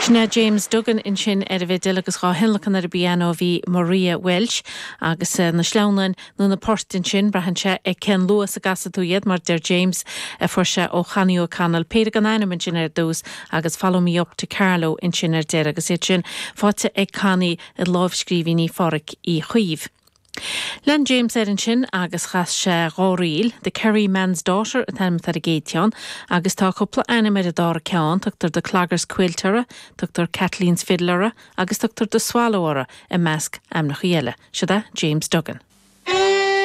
Sin é James Duggan ansin ar an bhfidil agus dhá thionlacan ar an bpianó bhí Maria Walsh agus na sleamhnáin nó na poirt ansin, braitheann sé ar cén luas a gcasfaidh tú iad mar deir James a fuair sé ó Chonnie O'Connell péire gan ainm ansin ar dtús agus Follow Me Up to Carlow ansin ar deireadh agus iad sin faighte ag Connie i lámhscríbhinní Phádhraic Uí Chaoimh. Lean James air ansin agus chas sé dá ríl, The Kerry Man's Daughter an t-ainm atá ar an gcéad cheann, agus tá cúpla ainm ar an dara ceann, tugtar The Clogger's Quilt orthu, tugtar Kathleen's Fiddle orthu agus tugtar The Swallow orthu, i measc ainmneacha eile. Siod é James Duggan.